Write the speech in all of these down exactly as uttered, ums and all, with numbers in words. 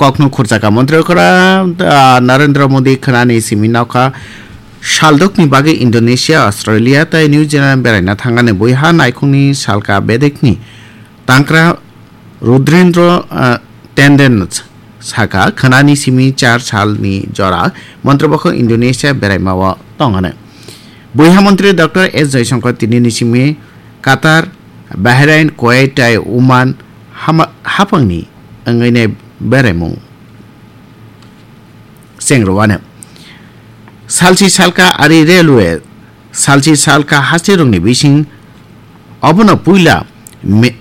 Kokno khurjaka montri okra, ah, Narendra Modi khwnani simi nokha saldokni bagwi Indonesia, Australia tei New Zealand beraina thangani buiha naikhungni salka bedekni tangkra Rudrendra, ah, Tenden saka khwnani simi char salni jora montri bokho Indonesia beraimao tongani. Buiha montri Doctor S Jaishankar tinini simi Qatar, Bahrain, Kuwait tei Oman hama-, hapangni wngwini beraimung. Chengrwano. Salchi salka ari railway, salchi salka hasteni rokni bising obono puila me-,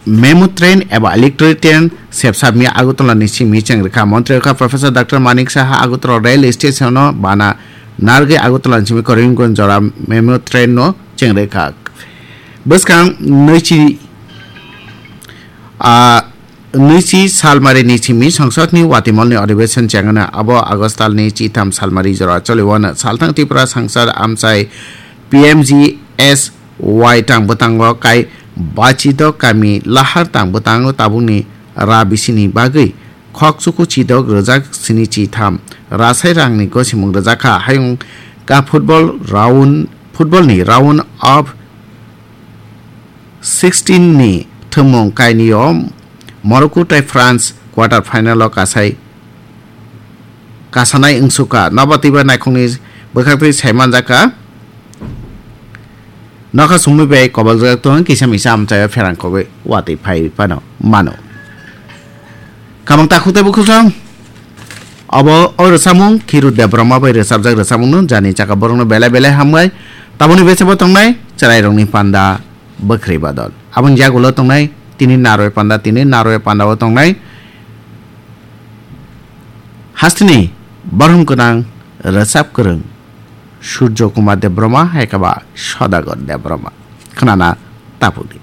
memo train eba electric train sepsapni Agartala ni simi chengrwkha. Montri wngkha Professor Doctor Manik Saha Agartala rail station no bana nargwi Agartala ni simi Karimganj jora memo train no chengrwkha. Bwskang nwichi, ah, nwichi salmari ni simi Songsod ni Watimol ni Adhibeshon chengano abo August tal ni chitham salmari jora choliwano. Salthang Tripura Sangsad amchai P M G S Y tang bwtango kai Bachidok kami Lahar tang bwtango tabukni ra bisini bagwi khok chuku chidok rwjak sini chitham rasai rangni gosimung rwjakha. Hayung ka football round, football ni round of sixteen ni thwngmung kainwi o Morocco tei France quarter final o kasai kasanai wngsukha. Nobo twiba naikhungni bwkhaktwi saimanjakha. Nokha sumui bai koboljak tong kisa misa amchaio pherang kogwi watwi phai phano mano. Kamang takhuk tei bukhuk song. Obo o rwchapmung Khiru Debbarma bai rwchapjak rwchapmungno jani chaka borokno belai belai hambai. Taboni bechabo tongnai chwrairokni panda bwkhri badol. Aboni yagulo tongnai tini naroi panda, tini naroi pandao tongnai hasteni borom gwnang rwchap kwrwng Surjo Kumar Debbarma hai khe ba Sodagar Debbarma. Khwnana tapukdi.